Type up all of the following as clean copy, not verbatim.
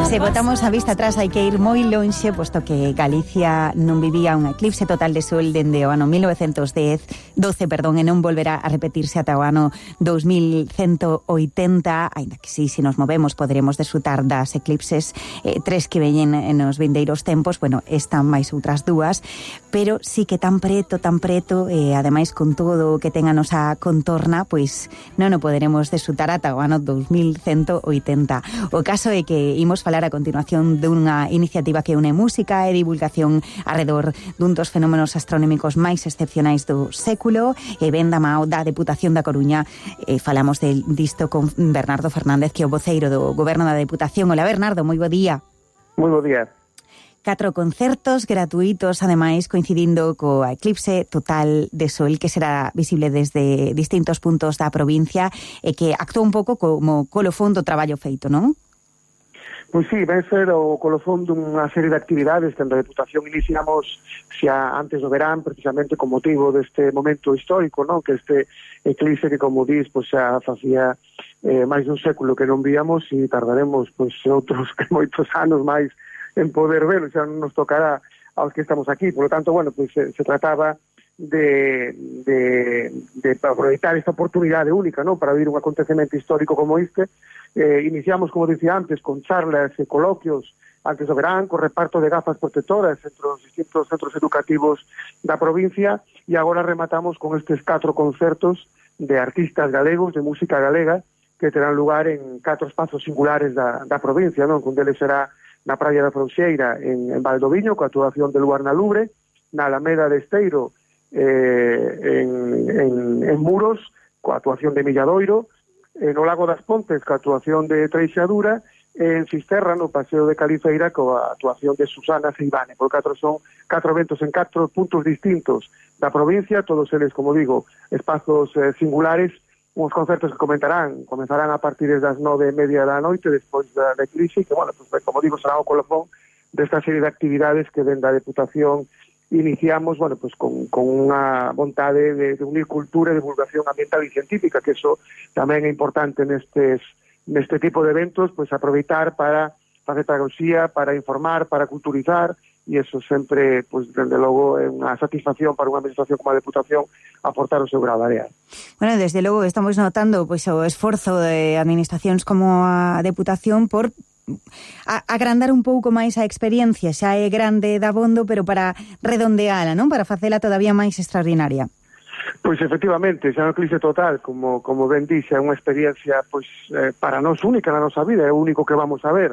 Se botamos a vista atrás hai que ir moi lonxe, posto que Galicia non vivía un eclipse total de sol dende o ano 1912, e non volverá a repetirse ata o ano 2180, aínda que si nos movemos poderemos desfrutar das eclipses tres que veñen nos vindeiros tempos, bueno, están máis outras dúas, pero sí que tan preto, e ademais con todo o que ten a nosa contorna, pois non o poderemos desfrutar ata o ano 2180. O caso é que imos falar a continuación dunha iniciativa que une música e divulgación arredor dun dos fenómenos astronómicos máis excepcionais do século, e ven da mao da Deputación da Coruña. Falamos disto con Bernardo Fernández, que é o voceiro do Goberno da Deputación. Hola, Bernardo, moi bo día. Moi bo día. 4 concertos gratuitos, ademais, coincidindo co eclipse total de sol que será visible desde distintos puntos da provincia e que actúa un pouco como colofón do traballo feito, non? Pois sí, vai ser o colofón dunha serie de actividades que a Deputación iniciamos xa antes do verán, precisamente con motivo deste momento histórico, non? Que este eclipse que, como dis, pois xa facía máis dun século que non víamos, e tardaremos pois outros moitos anos máis en poder verlo, xa non nos tocará aos que estamos aquí. Por lo tanto, bueno, pois se trataba de aproveitar esta oportunidade única, non? Para vivir un acontecemento histórico como este. Iniciamos, como dicía antes, con charlas e coloquios antes do verán, con reparto de gafas protectoras entre os distintos centros educativos da provincia, e agora rematamos con estes 4 concertos de artistas galegos, de música galega, que terán lugar en 4 espazos singulares da provincia, non? Un deles será na Praia da Fronxeira, en Valdoviño, coa actuación de Luar na Lubre, na Alameda de Esteiro, en Muros, coa actuación de Milladoiro, no Lago das Pontes, coa actuación de Treixadura, en Fisterra, no Paseo de Califeira, coa actuación de Susana Ceibane. Por 4 son 4 eventos en 4 puntos distintos da provincia, todos eles, como digo, espazos singulares, uns concertos que comenzarán a partir das 9:30 da noite, despois da eclipse, que, bueno, pues, como digo, será o colofón desta serie de actividades que dende a Deputación iniciamos, bueno, pues con unha vontade de unir cultura e divulgación ambiental e científica, que eso tamén é importante neste tipo de eventos, pues aproveitar para facer pedagogía, para informar, para culturizar, e eso sempre, pues, dende logo, é unha satisfacción para unha administración como a Deputación aportar o seu grado de área. Bueno, desde logo estamos notando pois o esforzo de administracións como a Deputación por agrandar un pouco máis a experiencia, xa é grande dabondo, pero para redondeala, non? Para facela todavía máis extraordinaria. Pois efectivamente, xa no eclipse total, como ben dixe, é unha experiencia pois para nós única na nosa vida, é o único que vamos a ver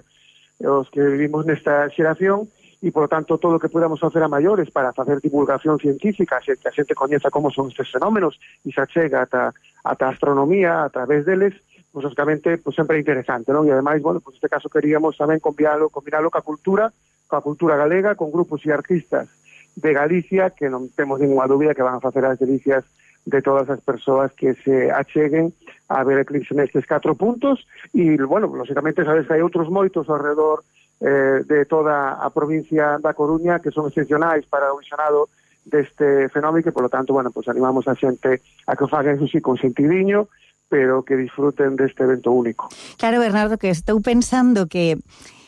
os que vivimos nesta xeración, e, por lo tanto, todo o que podamos facer a maiores para facer divulgación científica, que a xente coñeza como son estes fenómenos e se achega ata a astronomía a través deles, pues, lógicamente, pues, sempre é interesante, non? E, ademais, bueno, pues, neste caso queríamos tamén combinalo coa cultura galega, con grupos e artistas de Galicia, que non temos ninguna dúbida que van a facer as delicias de todas as persoas que se acheguen a ver eclipse nestes 4 puntos, e, bueno, lógicamente, sabes que hai outros moitos alrededor de toda a provincia da Coruña que son excepcionais para o visionado deste fenómeno, que, por lo tanto, bueno, pues animamos a xente a que o fagan, eso sí, con sentidiño, pero que disfruten deste evento único. Claro, Bernardo, que estou pensando que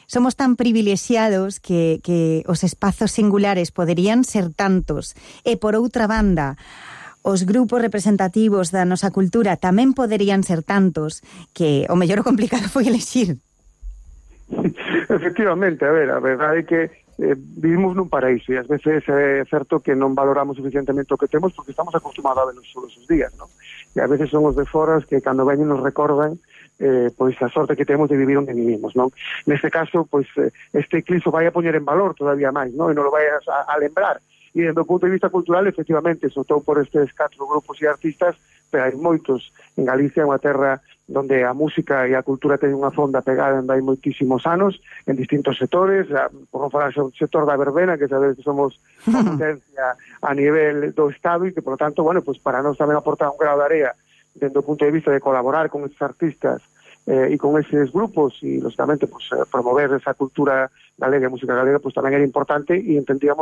somos tan privilexiados que os espazos singulares poderían ser tantos, e por outra banda, os grupos representativos da nosa cultura tamén poderían ser tantos, que o mellor o complicado foi elexir. Efectivamente, a verdade é que vivimos nun paraíso, e ás veces é certo que non valoramos suficientemente o que temos porque estamos acostumados a verlos todos os días, non? E ás veces son os de fora que cando veñen nos recordan pois a sorte que temos de vivir onde vivimos, non? Neste caso, pois este eclipse vai a poñer en valor todavía máis, non? E non lo vai a lembrar. E, desde o punto de vista cultural, efectivamente, soltou por estes 4 grupos e artistas, pero hai moitos. En Galicia é unha terra onde a música e a cultura ten unha fonda pegada en hai moitísimos anos, en distintos sectores, por non falar do sector da verbena, que sabes que somos a potencia a nivel do Estado, e que, por lo tanto, bueno, pues para nós tamén aportar un grado de area dentro do punto de vista de colaborar con estes artistas e con eses grupos, e, lógicamente, pues, promover esa cultura galega e música galega, pues tamén era importante, e entendíamos